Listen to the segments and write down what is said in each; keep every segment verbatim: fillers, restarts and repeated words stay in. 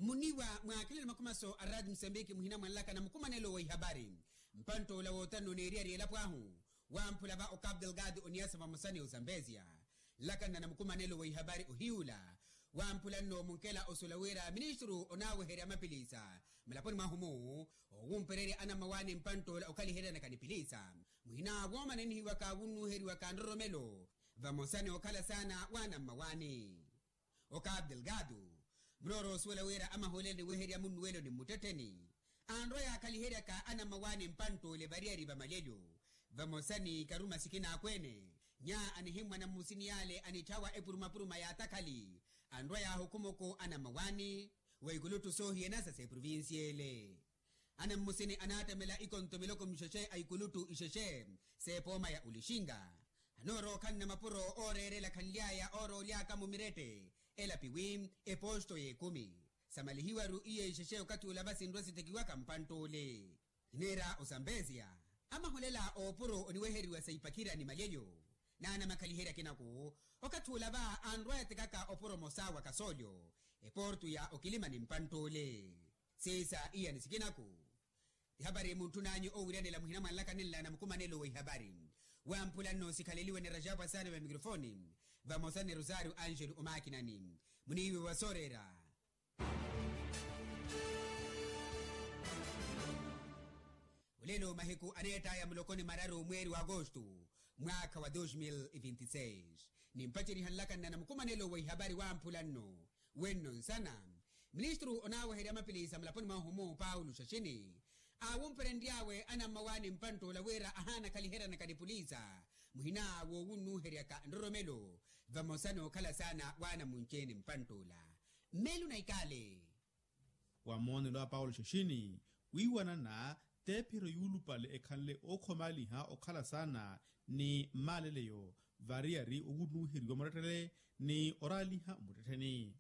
Muniiwa mwa akilelo makhumaso a raati musambiki muhina mwanlaka na mukumanelo wa ihapari, mpantt'ola woottanno oneeriyari elapo ahu wamphula va okapu delgado oniyasa vamosa ni osambezia. Nlakanna na mukumanelo wa ihapari ohiy'ula wamphula nno munkela osuwela wira ministru onaaweherya mapilisa mulaponi mwahu-mu, owumpererya anammawaani mpantt'ola okhaliheryanaka ni pilisa muhina woomananihiwaka wunnuheriwaka nroromelo vamosa ni okhala saana w'anammawaani. Okapu delgado murooro osuwela wira amahoolelo aniweherya munnuwelo ni mmuttettheni anrwa yaakhaliheryaka anammawaani mpantt'ole variyari va malyelyo vamosa ni karuma sikina akweene nya anihimmwana mmusini yaale anitthyawa epurumapuruma yaatakhali anrwa yaahukhumoko anammawaani wa ikuluttu soohiyanasa s'eprovincia ele. Anammusini anaattamela ikonto miloko mixexe a ikuluttu ixexe s'epooma ya olixinga anoorookhanna mapuro ooreerela khanly'aya oorooly'aka-mo mirette elapiwi eposto y'ekumi samalihiwaru iyo ixexe okathi olava sinrwa sithekiwaka mpantt'ole. Ineera osambezia amaholela oopuro oniweheriwa sa ipakhira ni malyelyo n'anamakhaliherya akinaku okathi olava anrwa yatekaka opuro omosa wa kasoolyo eportu ya okilima ni mpantt'ole. Siisa iyani sikinaku ihapari muntthun'anyu oowiryanela muhina mwanlaka ninla na mukumanelo wa ihapari wamphula nno sikhaleliwe ni rajapu asaani va mikrofoni vamosa ni rosario angelo omaakinani muniiwe wa sooreera. Olelo mahiku aneett'aya muloko ni mararu mweeri wa agosto mwaakha wa dos mil e vinti seis nimpaceriha nlakanna na mukumanelo wa ihapari wamphula nno wenno nsana ministru onaaweherya mapilisa mulaponi mwahu-mu paulo xaxini aawumperenry'awe anammawaani mpantt'ola wira ahaana khaliheryanaka ni pulisa muhina woowunnuheryaka nroromelo vamosa n'okhala saana w'anamunci-ene mpantt'ola. Mmeelo na ikaale wa moonelo a paulo xaxini wiiwanana t'ephiro yuulupale ekhanle ookhomaliha okhala saana ni mmaaleleyo variyari owunnuheriwa muttettele ni oraaliha muttettheni.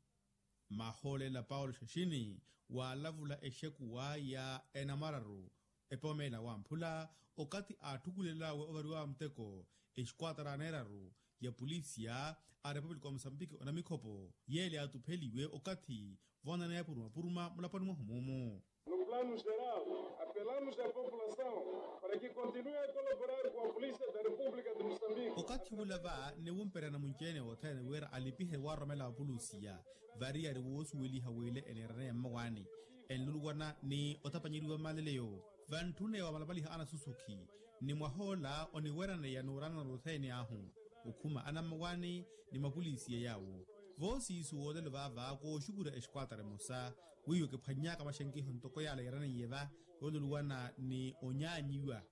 Mahoolela paulo xaxini waalavula exekuwa ya enamararu epomeela wamphula okathi aatthukulel'awe ovariwa muteko exikuwatara aneeraru ya pulisiya a repupulika wa musambiki onamikhopo yeele yaatupheliwe okathi voonaneya purumapuruma mulaponi mwahu mumu. No plano geral apelamos a população para que continue a colaborar com a polícia da república de moçambique. Okathi wula va niwumperya namunci-ene othene wira alipihe waaroromela apulusiya variyari woosuweliha w'ile eneeraneya mmawaani enluluwana ni otapanyeriwa mmaleleyo vantthune wamalamalihaka anasusukhi ni mwah'ola oniweraneya n'uranana othene ahu okhuma anammawaani ni mapulisiya yaawo voosiisu woolelo vaava kooxukura exikuwatara emosa wiiwo kiphwanny'aka maxenkiho ntoko yaala yeeraneiye va yooluluwana ni onyaanyiwa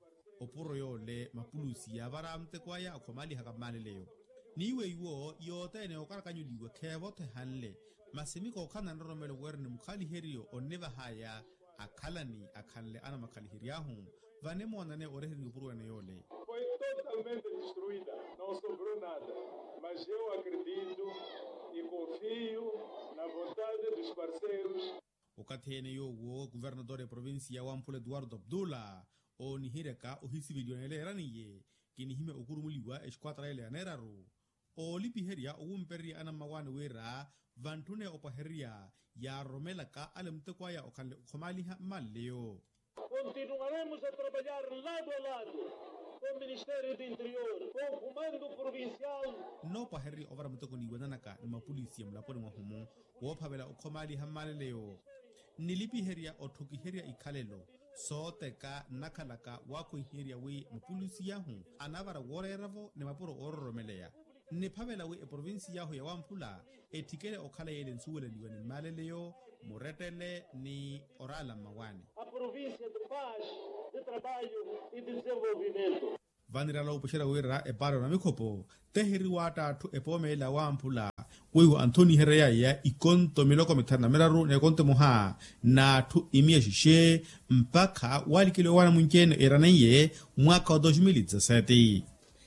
opuro yoole mapulusiya vara muteko aya akhomalihaka mmaleleyo n'iwe iwo yothene okarakanyuliwa kheevothehanle masi mikookhana nroromelo wira ni mukhaliheriyo onnivahaya akhalani akhanle anamakhalihery'ahu vanimoonane oreheriwa opuro ene yoole. Foi totalmente destruída, não sobrou nada. Mas eu acredito e confio na vontade dos parceiros. Okathi ene yoowo kuvernator eprovincia wamphula eduardo abdullah oonihiryaka ohisiveliwa neeleeraniye kinihimya okurumuliwa exikuwatara ele yaneeraru oolipiherya owumpererya anammawaani wira vantthune opwahererya yaaroromelaka ale muteko aya okhanle okhomaliha mmaleleyo. Continuaremos a trabalhar lado a lado com o ministério do interior, com o comando provincial. Nnoopwahererya ovara muteko niiwananaka ni mapulisiya mulaponi mwahu-mu woophavela okhomaliha mmaleleyo nilipiherya otthukiherya ikhalelo sooteka nnakhalaka waakhwiherya wi mapulisiya ahu anavara wooreera-vo ni mapuro oororomeleya nniphavela wi eprovincia ahu ya wamphula etthikele okhala yeele nsuwelaniwa ni mmaleleyo murettele ni oraala mmawaani. A província de paz, de trabalho e de desenvolvimento. Vanirala opuxerya wira epaari onamikhopo teheriwa atthu epoomela wamphula weiwo anthoniherya yaya ikonto miloko mithanu na miraru n'ekonto emoha n'atthu imiya xixe mpakha walikeliwa waana munci-ene eraneiye mwaakha wa dos mil e dezassete.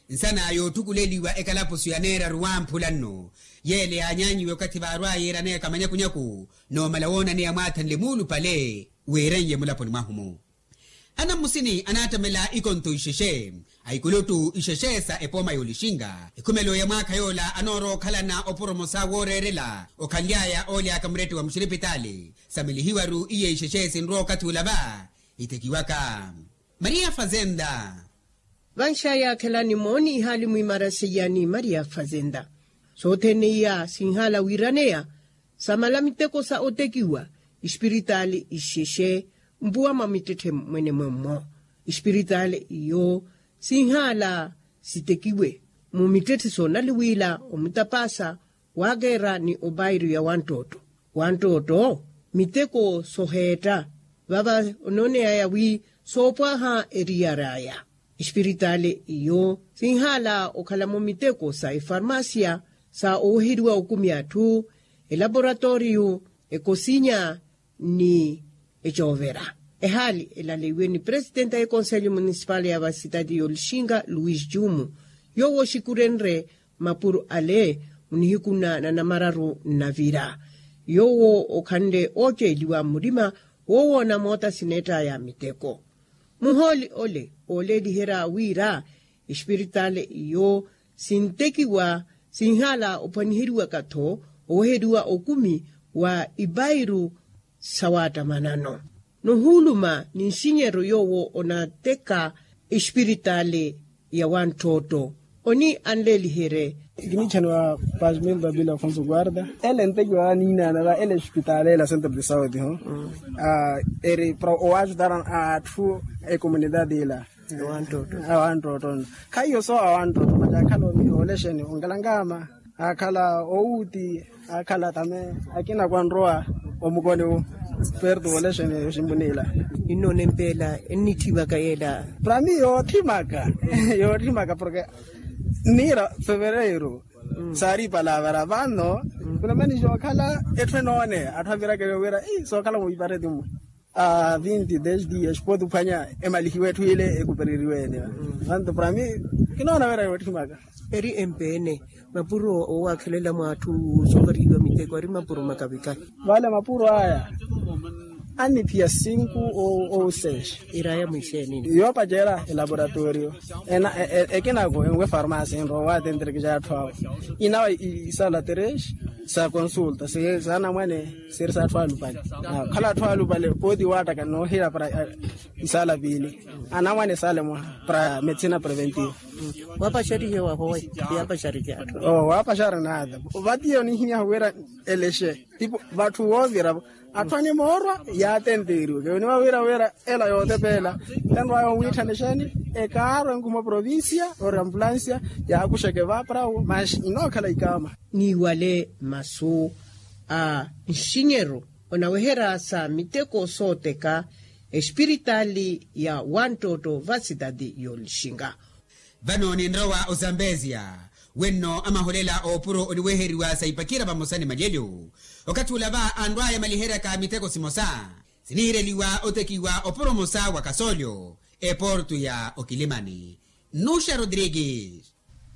Nsana yootthukuleliwa ekalapusu ya neeraru wamphula nno yeele yaanyaanyiwe okathi vaarwaya eraneyaka manyakunyaku noomala woonaneya mwaathanle muulupale weeranye mulaponi mwahu-mu. Anammusini anaattamela ikonto ixexe a ikuluttu ixexe sa epooma y'olixinga ekhumelo ya mwaakha yoola anoorowa okhalana opuro omosa wooreerela okhanly'aya ooly'aka murette wa muxiripitaali. Samelihiwaru iye ixexe sinrowa okathi ula va itekiwaka. Maria fazenda. Vanxaya akhelani mooni ihaali mwiimara seiya ni maria fazenda. Sothene iya sinhaala wiiraneya samala miteko sa otekiwa. Ispiritaali ixexe mpuwa mwa mittetthe mwenemwe mmo. Ispiritaali iyo sinhaala sitekiwe mu mittetthe soonaliwila omutapaasa waakeera ni opairu ya wanttotto. Wanttotto miteko soheetta vava onooneyaya wi soopwaha eriyar'aya. Espiritaali iyo sinhaala okhalamo miteko sa efarmasiya sa oweheriwa okumi atthu, elaporatooriyu, ekosinya ni ecoovera. Ehaali elaleiwe ni presitenti a ekonselyo munisipali ya vasitati y'olixinga luis jumu. Yoowo oxikurenre mapuro ale munihiku na nanamararu nnavira. Yoowo okhanle ooceeliwa murima woowoona moota sineett'aya miteko. Muhooli ole ooleeliherya wira espiritaali iyo sintekiwa sinhaala ophwaniheriwaka-tho oweheriwa okumi wa ipairu sawaattamanano. Nohuuluma ni nxinyeryo yoowo onateka espiritaali ya wanttootto oni anleeliherye. Kinichaniwa pasmil babila afonso guarda ele ntekiwa aniinana va ele espitaali ela centro de saude ho. Eri para owaajutara atthu ekomunidade ila. Awanttootto nno khaiyo so awanttootto mati akhala olexeni onkelangama akhala owuuti akhala tame akina kwanrowa omukoni wu. Perto olexeni oximbunila. Innoona empeela ennitthimaka yeela. Para mi yootthimaka yootthimaka porke nniira fevereiro saari ipalavara vano. Kunamanixi okhala etthu enoone atthu avirakele wira sookhala muvipareti mwe. A vinti des dias pooti ophwanya emalihiwe etthu ile ekupereriwe ene. Vanto para mi kinoona wira yootthimaka. Eri empeene mapuro owaakhelela mwa atthu soovarihiwa miteko ari mapuro makavikahi. Vale mapuro aya aniphiya sinku ou seis. Iraya mwiixeenini. Yoopacerya elaboratorio ekinako enwe farmasi enrowa waatenterekexa atthu awo. Inawa isala tres sa consulta sanamwane. Siri sa atthu alupale. Khala atthu alupale pooti waattaka noohira para isala piili anamwane sale mwa para medicina preventiva. Waapaxarihiwa howe yaapaxarihiwa atthu. Waapaxari naata vatiya onihimyahu wira elexe tipo vatthu woovira-vo. Atthu animoorwa yaatenteeriwe keweniwa wira wira ela yootepeela. Enrwaya onwiitthanexeni ekaaro enkhuma provincia ori ambulansia yaakuxeke vaaparawo manxi inookhala ikaama. Niiwale masu a nxinyeru onaweherya sa miteko sooteka espiritaali ya wanttootto va sitati y'olixinga. Vano ninrowa ozambezia wenno amaholela oopuro oniweheriwa sa ipacerya vamosa ni malyelyo. Okathi ula va anrwaya emaliheryaka miteko simosa siniireliwa otekiwa opuro omosa wa kasoolyo eporto ya okilimani. Nuxa rodrigues.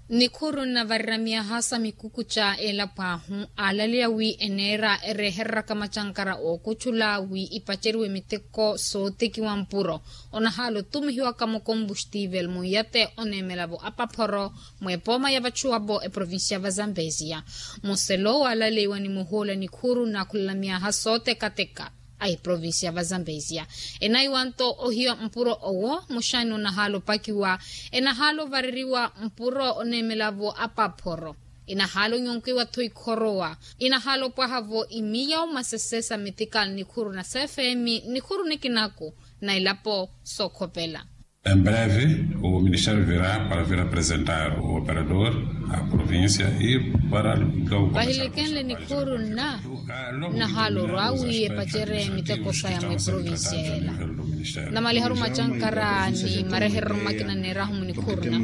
Nikhuru nnavarira myaha sa mikukuca elapo ahu aalaleya wi eneera erehereraka macankara ookucula wi ipaceriwe miteko sootekiwa mpuro. Onahaala otumihiwaka mukombustivel munyate oneemela-vo apaphoro mwepooma ya vachuwa-vo eprovincia va zambezia. Muselo waalaleiwa ni muhuula nikhuru nnaakhulela myaha sootekateka a eprovincia va zambezia. Enaiwa nto ohiya mpuro owo muxani onahaala opakiwa enahaala ovareriwa mpuro oneemela-vo apaphoro. Enahaala onyonkiwa-tho ikhorowa enahaala opwaha-vo imiya omasese sa metikali nikhuru na sefemi nikhuru nikinaku na elapo sookhopela. Em breve o ministério virá para vir apresentar o operador a província e para logo. Vahilekenle nikhuru nna nnahaala orwa wi epacere miteko saya mwa eprovincia ela. Namaliharu macankara ni mareherero makina neerahu munikhuru nna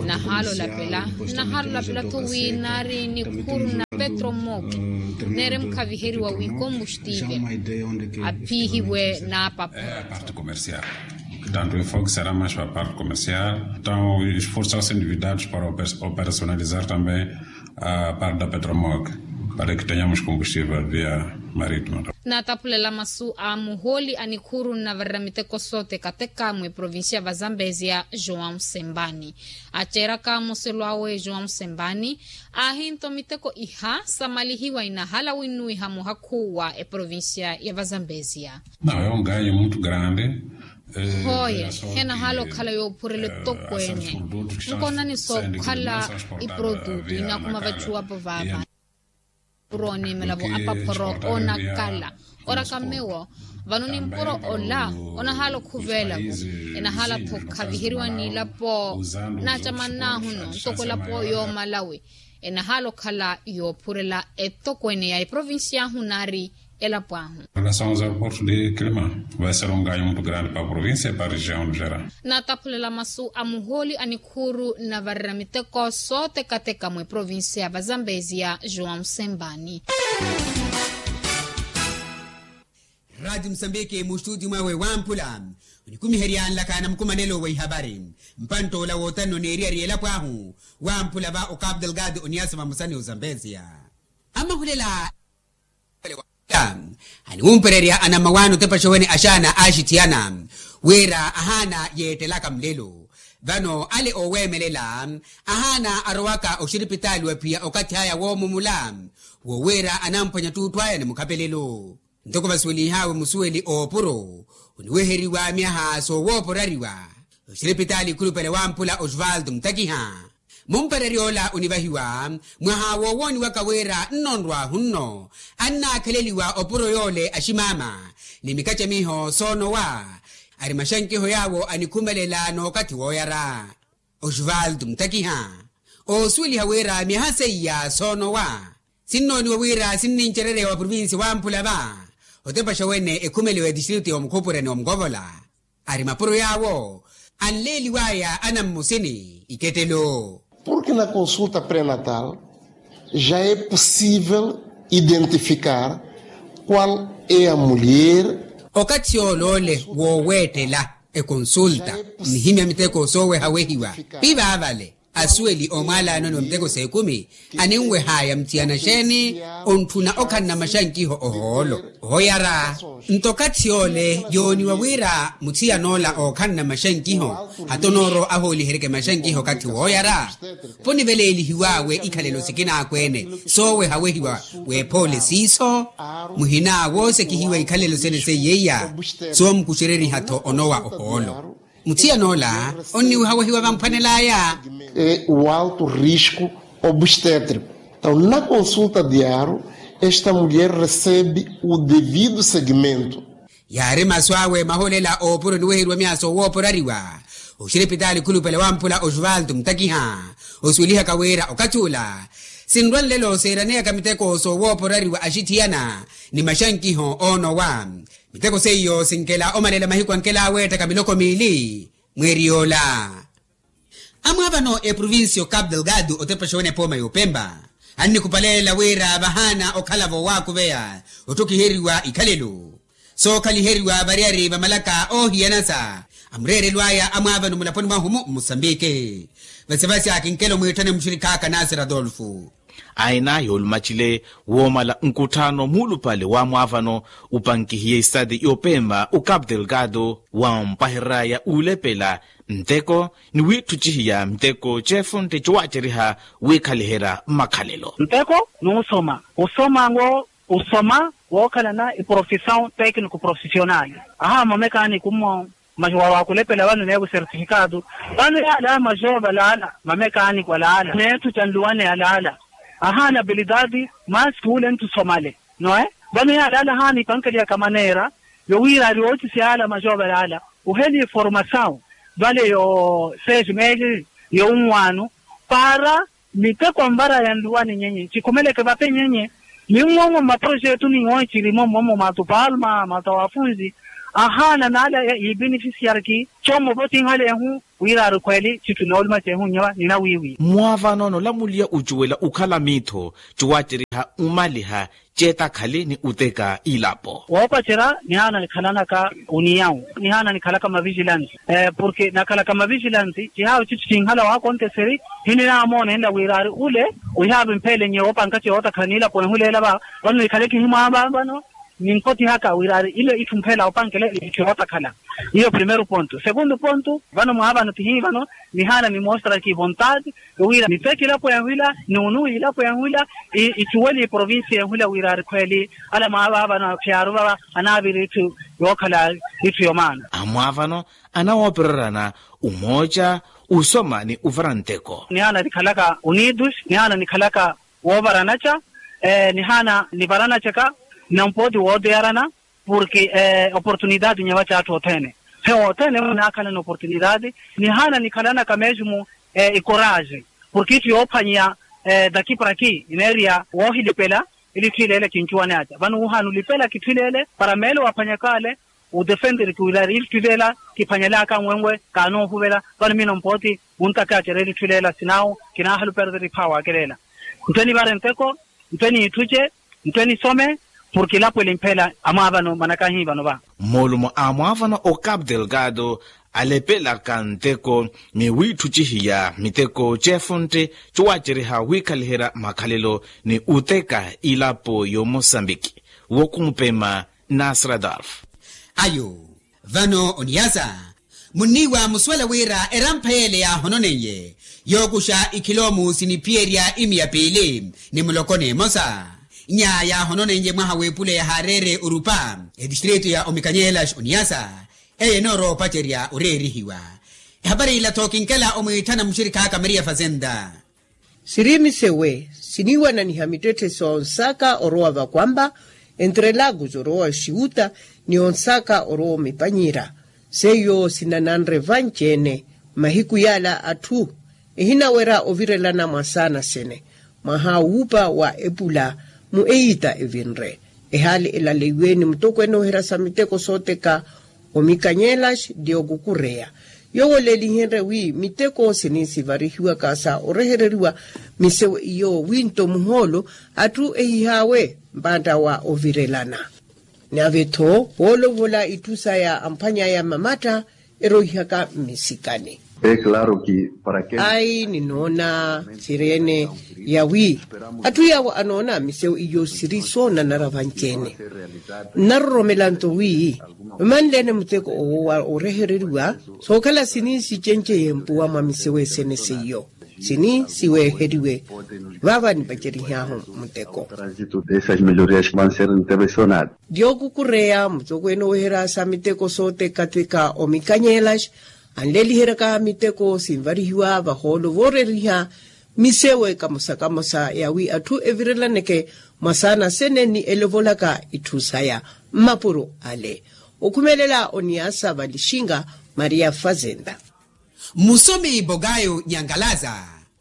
nnahaala olapela. Nnahaala olapela-tho wi naari nikhuru nna petro moki neere mukhaviheriwa wi kombustivel aphihiwe naapapha. Tanto o enfoque será mais para a parte comercial. Então esforços são sendo envidados para operacionalizar também a parte da petromoc. Para que tenhamos combustível via marítima. Nataphulela masu a muhooli a nikhuru nnavarira miteko sotekateka mwi provincia va zambezia joão sembani. Aceeraka muselo awe joão sembani, aahinto miteko iha samalihiwa inahala winnuwiha muhakhu wa eprovincia ya va zambezia. Não é um ganho muito grande. Hoye henahala okhala yoophurela etokweene. Nkonani sookhala iprodutu inakhuma vacuwapo vaava. Puro oniimela vo apaphoro onakala oraka mmewo. Vano nimpuro ola onahala okhuveela vo enahala tho khaviheriwa n'ilapo naacamannaahuno ntoko elapo yoomalawi. Enahala okhala yoophurela etokweene ya eprovincia ahu naari elapo ahu. Relação aos aeroportos de clima vai ser um ganho muito grande para a província e para a região no geral. Nataphulela masu a muhooli a nikhuuru nnavarira miteko sootekateka mwi provincia va zambezia joão sembani. Rati musambiki mustutio mwawe wamphula onikumiherya nlaka na mukumanelo wa ihavari. Mpantt'ola wootanno neeriyari elapo ahu wamphula va ocapo delgado oniasa vamosa ni ozambezia. Amahulela aniwumpererya anammawaani otepaxa wene axaana aaxithiyana wira ahaana yeettelaka mulelo. Vano ale ooweemelela ahaana arowaka oxiripitaali wa phiya okathi aya woomumula wo wira anamphwanya ttuutthu aya ni mukhapelelo. Ntoko vasuwelihawe musuweli oopuro oniweheriwa myaha soowooporariwa oxiripitaali ikhulupale wamphula osvaldo mutakiha. Mumpererya ola onivahiwa mwaha woowooniwaka wira nnonrwahu nno annaakheleliwa opuro yoole aximaama ni mikacamiho soonowa. Ari maxankiho yaawo anikhumelela n'okathi wooyara osvaldo mutakiha oosuweliha wira myaha seiya soonowa sinnooniwa wira sinnincerereya wa provincia wamphula va otepaxa wene ekhumeliwa etistritu ya omukhupurani omukovola. Ari mapuro yaawo anleeliwaya anammusini ikettelo. Porque na consulta pré-natal já é possível identificar qual é a mulher. Okathi yoole wooweettela ekonsulta nihimya miteko soowehawehiwa pivaavale asuweli oomwaalaanoni wa miteko s'ekumi aninweh'aya muthiyana xeeni ontthuna okhanna maxankiho ohoolo. Ohoyara nto okathi yoole yooniwa wira muthiyan'ola ookhanna maxankiho hata onoorowa ahooliheryeke maxankiho okathi wooyara. Poniveleelihiw'awe ikhalelo sikina akweene soowehawehiwa w'ephoole siiso muhina woosekihiwa ikhalelo sene seiyeiya soomukuxereriha-tho onowa ohoolo. Muthiyan'ola onniwehawehiwa vamphwanel'aya. É o alto risco obstétrico. Então na consulta diário esta mulher recebe o devido segmento. Yaari masu awe maholela oopuro oniweheriwa myaha soowooporariwa oxiripitaali khulupale wamphula osvaldo mutakiha osuwelihaka wira okathi ula sinrwa nlelo seeraneyaka miteko soowooporariwa axithiyana ni maxankiho oonowa. Miteko seiyo sinkela omalela mahiku ankela aweettaka miloko miili mweeri yoola. Amwaavano eprovincia ocapo delgado otepaxa wene epooma y'opempa annikupalelela wira vahaana okhala-vo waakuveya otthokiheriwa ikhalelo sookhaliheriwa variyari va malaka oohiyanasa amureerelw'aya amwaavano mulaponi mwahu-mu mmusambiki. Vasivasi akinkelo mwiitthane muxirikhaaka nasir adolfo. Aina yoolumaxile woomala nkutthaano muulupale wa mwaavano upankihiye isitati y'opempa ocapo delgado wampahereraya uulepela nteko ni wiitthucihiya miteko ceefontte cowaaceriha wiikhaliherya makhalelo. Nteko n'usoma usoma ngo usoma wookhalana iprofisaw tecnico profissional. Aha mamekaaniko mmo majo wa waakulepela vano neevo sertifikaato vano yaala majo valaala mamekaaniko alaala neetthu ca nluwane alaala. Ahaana abilidadi maski wule nttusomale noe vano yaala alaala ahaana ipankeliyaka maneera yowira ari ootisi yaala majo valaala oheliye formasaw vale yo seis meses yowunwaano para miteko anvara yanluwani nyenye cikhumeleke vape nyenye. Minwonwo mmaprojetu ni woncirimo mmomo matupalma matawafunzi Ahaana naale yiibenefisiariki. Commo votinhalehu wira ari khweeli citthu noolumacehu nnyova ninawiiwi. Mmwaavano noolamuliya ocuwela okhala miitho cowaaceriha omaliha ceetakhali ni oteka ilapo. Woopacerya nihaana nikhalanaka oniyawu nihaana nikhalaka mavijilansi. Porke nakhalaka mavijilansi cihaawo citthu cinhala waakonteseri. Hininamoona enla wira ari ule ohihaave mpheele nyeya woopankace wootakhala niilapo ehuleela va. Vano nikhale kihimwaava vano ninkotihaka wira ari ile itthu mpheela opankelela itthu yootakhala. Iyo primeiro ponto segundo ponto vano mwaavano tihiivano nihaana nimoostaraki vontade. Wira niteke ilapo yahwila nunuwi ilapo yahwila icuwele iprovincia yahwila wira ari khweeli ala mwaavaavano aphiyaaru vava anaavira itthu yookhala itthu yomaana. Amwaavano anawoopererana umooca usoma ni uvara nteko. Nihaana nikhalaka unidos nihaana nikhalaka woovaranaca nihaana nivaranacaka. Nampooti wooteyarana porke oportunidade nyeva c'atthu othene he othene mwe naakhalana oportunidade. Nihaana nikhalanaka mesmo ikoraje porke itthu yoophwanyiya daki para ki ineeriya woohilipela. Ili itthu ileele kincuwaneaca vano wuhaana olipela kitthu ileele para meelo waphwanyaka ale. Odefenderiki wira ari itthu ileela kiphwanyelaka nwenwe kaanoohuvela. Vano miina mpooti muntakaacerya ili itthu ileela sinaawo kinaahaluperteri phaawa akelela. Nto enivare nteko nto eniitthuce nto enisome porke ilapo eli mpheela amwaavano manakahi vano va. Moolumo a mwaavano o capu delgado alepelaka nteko ni wiitthucihiya miteko ceefuntte cowaaceriha wiikhaliherya makhalelo ni oteka ilapo y'omosambiki. Wokumpema nasradolf. Ayo vano oniyasa munniiwa musuwela wira erampha yeele yaahononeiye yookuxa ikhiloomu siniphiyerya imiya piili ni muloko n'emosa. Nya yaahononeiye mwaha w'epula yahaareere orupa etistritu ya omikanyeelaxi oniyasa eye enoorowa opacerya oreerihiwa. Ehapari ila-tho kinkela omwiitthana muxirikhaaka maria fazenda. Siri misewe siniiwananiha mittetthe soonsaka orowa vakwampa entre lagos orowa oxiuta ni onsaka orowa omipanyira. Seiyo sinananre vanci-ene mahiku yaala atthu ehinawerya ovirelana mwasaana sene mwaha wuupa wa epula mu eyiita evinre. Ehaali elaleiwe ni mutokweene oherya sa miteko sooteka omikanyelaxi diokukureya yoowo leelihenrye wi miteko sini sivarihiwaka sa orehereriwa misewe iyo winto muhoolo atthu ehihaawe mpantta wa ovirelana. Nave-tho woolovola itthu saya amphwany'aya mamatta eroihaka mmisikani. Ayi ninoona siri-ene yawi atthu yaawo anoona misewu iyo siri soonanara vanci-ene. Nnaroromela nto wi omanle-ene muteko owo wa orehereriwa sookhala sini sicenceye mpuwa mwa misewu esene seiyo sini siweeheriwe. Vaava nipacerihahu muteko. Diokukureya mutokweene oweherya sa miteko sootekateka omikanyelaxi anleliheryaka miteko sinvarihiwa vahoolo vooreriha misewe kamosa kamosa yawi atthu evirelaneke mwasaana sene ni elovolaka itthu saya mmapuro ale. Okhumelela oniyasa valixinga maria fazenda. Musomi bogayo nyankalaza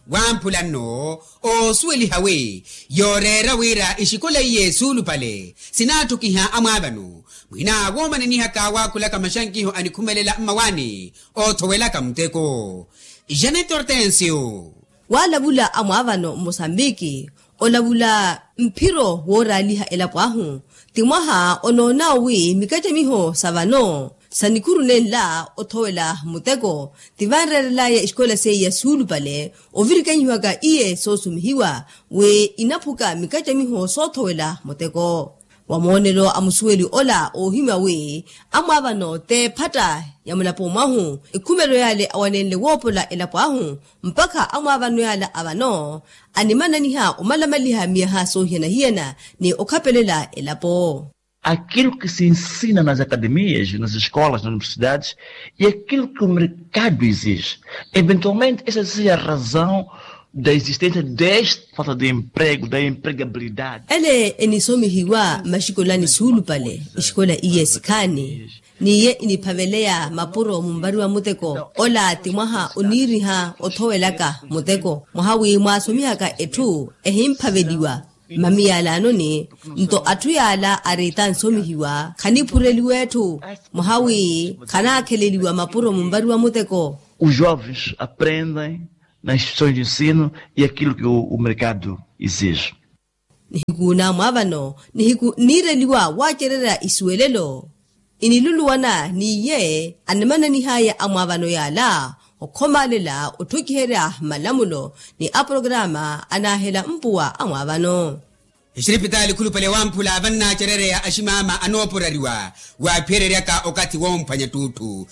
wamphula nno oosuweliha wi yooreera wira ixikola iye suulupale sinaattukiha amwaavano mwina woomananihaka waakhulaka maxankiho anikhumelela mmawaani oothowelaka muteko. Janet hortensio. Waalavula amwaavano mmosambiki olavula mphiro wooraaliha elapo ahu ti mwaha onoonawo wi mikacamiho sa vano sa nikhuru nenla othowela muteko ti vanreerelaya exikola seiya suulupale ovirikanyiwaka iye soosumihiwa wi inaphuka mikacamiho soothowela muteko. Wa moonelo a musuweli ola oohimya wi amwaavano t'ephatta ya mulapo mwahu ekhumelelo yale awanenle woopola elapo ahu mpakha amwaavano yala a vano animananiha omalamaliha miyaha soohiyana-hiyana ni okhapelela elapo. Aquilo que se ensina nas academias nas escolas nas universidades e aquilo que o mercado exige eventualmente essa seja a razão da existência desta falta de emprego da empregabilidade. Ele enisomihiwa mmaxikolani suulupale exikola iye sikhaani n'iye iniphaveleya mapuro munvariwa muteko ola ti mwaha oniiriha othowelaka muteko mwaha wi mwaasomihaka etthu ehimphaveliwa. Mami yaalanoni nto atthu yaala ariita ansomihiwa khaniphureliwa etthu mwaha wi khanaakheleliwa mapuro munvariwa muteko. Os jovens aprendem nas instituições de ensino e aquilo que o mercado exige. Nihiku naamwaavano nihiku nniireliwa waacererya isuwelelo. Iniluluwana n'iye animananihaya amwaavano yaala okhomaalela otthukiherya malamulo ni aprokrama anaahela mpuwa amwaavano. Exiripitaali khulupale wamphula vannaacerereya aximaama anooporariwa waaphiyereryaka okathi womphwanya ttuutthu.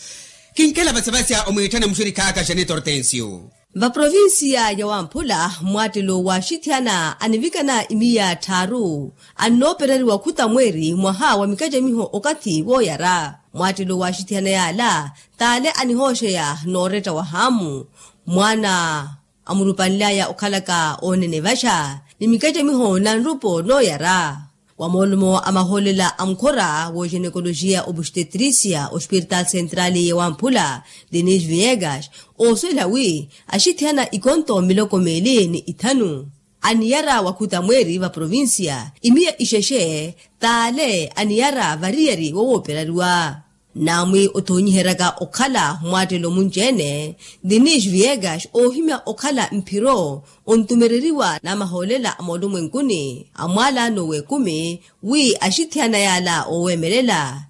Kinkela vasevasya omwiitthana muxurikh'aka xaneta ortensio. Vaprovinsiya ya wamphula mmwaattelo wa axithiyana anivikana imiya tthaaru annoopereriwa khuta mweeri mwaha wa mikacamiho okathi wooyara. Mmwaattelo wa axithiyana yaala t'ale anihooxeya nooretta wa haamu mwaana amurupanly'aya okhalaka oonene vaxa ni mikacamiho na nrupo nooyara. Wa moolumo a mahoolela a mukhora w'oxenekoloxiya obustetrisia ospiritaali sentrali ya wamphula denise viegas oosuwela wi axithiyana ikonto miloko meeli ni ithanu aniyara wakhuta mweeri va provinsiya imiya ixexe t'ale aniyara variyari wowooperariwa. Naamwi othoonyiheryaka okhala mmwaattelo munci-ene denise viegas oohimya okhala mphiro ontumereriwa n'amahoolela a moolumwenkuni a mwaalaano w'ekumi wi axithiyana yaala ooweemelela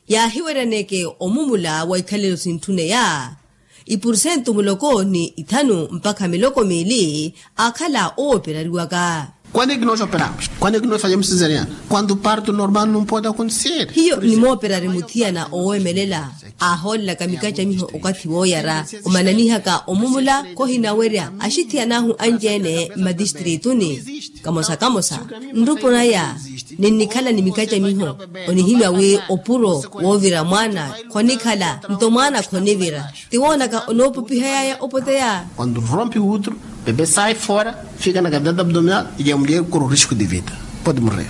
yaahiweryaneke omumula wa ikhalelo sintthuneya ipursentu muloko ni ithanu mpakha miloko miili aakhala owooperariwaka. Quando é que nós operamos? Quando é que nós fazemos cesariana? Quando o parto normal não pode acontecer. Hiyo nimooperari muthiyana oweemelela aahoolelaka mikacamiho okathi wooyara omananihaka omumula. Khohinawerya axithiyana ahu anci-ene mmatistrituni kamosa kamosa nrupo naya ninnikhala ni mikacamiho onihimya wi opuro woovira mwaana khonikhala nto mwaana khonivira. Ti woonaka onoopupihayaya opoteya. Quando rompe o útero, bebê sai fora, fica na cavidade abdominal e a mulher corre o risco de vida, pode morrer.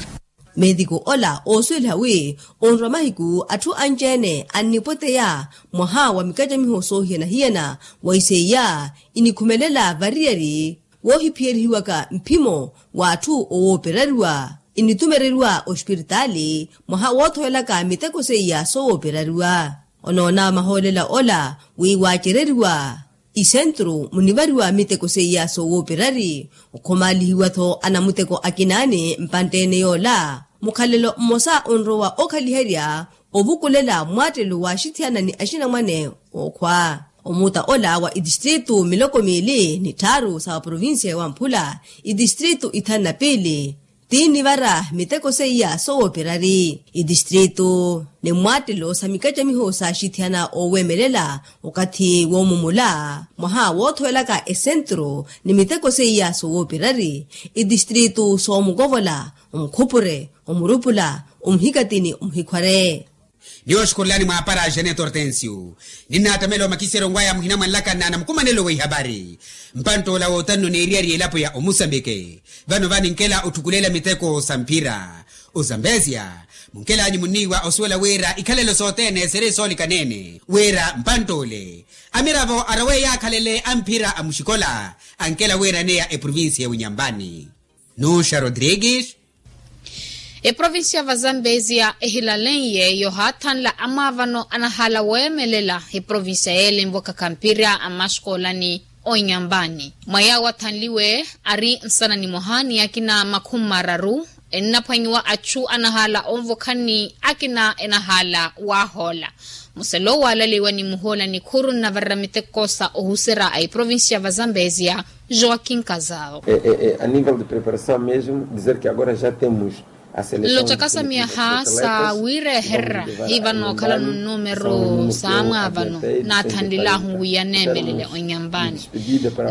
Meetiku ola oosuweliha wi onrwa mahiku atthu anci-ene annipoteya mwaha wa mikacamiho soohiyana-hiyana wa iseiya inikhumelela variyari woohiphiyerihiwaka mphimo w'atthu owooperariwa initumereriwa ospiritaali mwaha woothowelaka miteko seiya sowooperariwa. Onoona mahoolela ola wi waacereriwa isentru munivariwa miteko seiya sowooperari okhomaalihiwa-tho anamuteko akinaani mpantte-ene yoola mukhalelo mmosa onrowa okhaliherya ovukulela mmwaattelo wa axithiyana ni axinamwane ookhwa. Omuuta ola wa itistritu miloko miili ni tthaaru sa provinsiya ya wamphula itistritu ithanu na piili tiinivara miteko seiya sowooperari itistritu ni mmwaattelo sa mikacamiho sa axithiyana ooweemelela okathi woomumula mwaha woothowelaka esentru ni miteko seiya sowooperari itistritu soomukovola omukhupure omurupula omuhikatini omuhikhware. Niwooxukhurelani mwaapara a xaneto hortensio ninnaattamela omakiseryo ngwaya muhina mwanlakana na mukumanelo wa ihapari mpanttoola wootanno n'eriyari y'elapo ya omusambike. Vano va ninkela otthukulela miteko sa mphira ozambezia munkelanyu munniiwa osuwela wira ikhalelo sothene siri soolikaneene wira mpantt'ole amiravo arowe yaakhalele a mphira a muxikola ankela wira neya eprovincia ya winyambani. Nuxa rodrigues. Eprovincia va zambezia ehilaleiye yohaathanla amwaavano anahaala weemelela eprovincia yeele nvokaka mphira a maxikoolani onyambani mwa yaawo athanliwe ari nsana nimoha ni akina makhumi mararu ennaphwanyiwa achu anahaala onvokhani akina enahaala waahoola. Muselo waalaliwa ni muhoola nikhuru nnavarera miteko sa ohuserya a eprovincia va zambezia joaquin kazao. A nível de preparação mesmo dizer que agora já temos nlocaka sa miyaha sa wiirehererya hiva nookhalano nnumeru sa mwaavano naathanlilahu wi yaneemelele onyambani.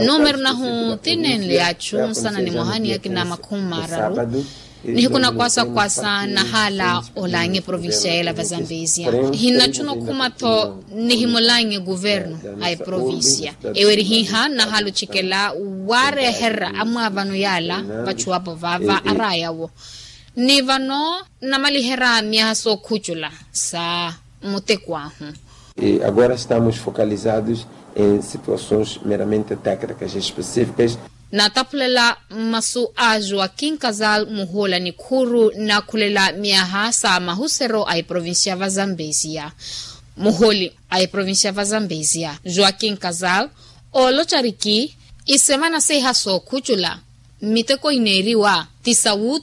Nnumeru nahu ti neenle yaachu nsana nimoha ni akina makhumi mararu. Nihiku na kwasakwasa nahaala olaanya eprovincia yeela va zambezia hinnachuna okhuma-tho nihimolaanya eguvernu a eprovincia ewerihiha nahaala ocikela waarehererya amwaavano yaala vachuwapo vaava araaya-wo. Ni vano nnamaliherya miyaha sookhucula sa muteko ahu. Agora estamos focalizados em situações meramente técnicas específicas. Nataphulela mmasu a joaquin casal muhoola nikhuuru nakhulela myaha sa mahusero a eprovincia va zambezia. Muhooli a eprovincia va zambezia joaquin casal ooloca riki isemana seiha sookhucula mmiteko ineeriwa ti sa wuuta.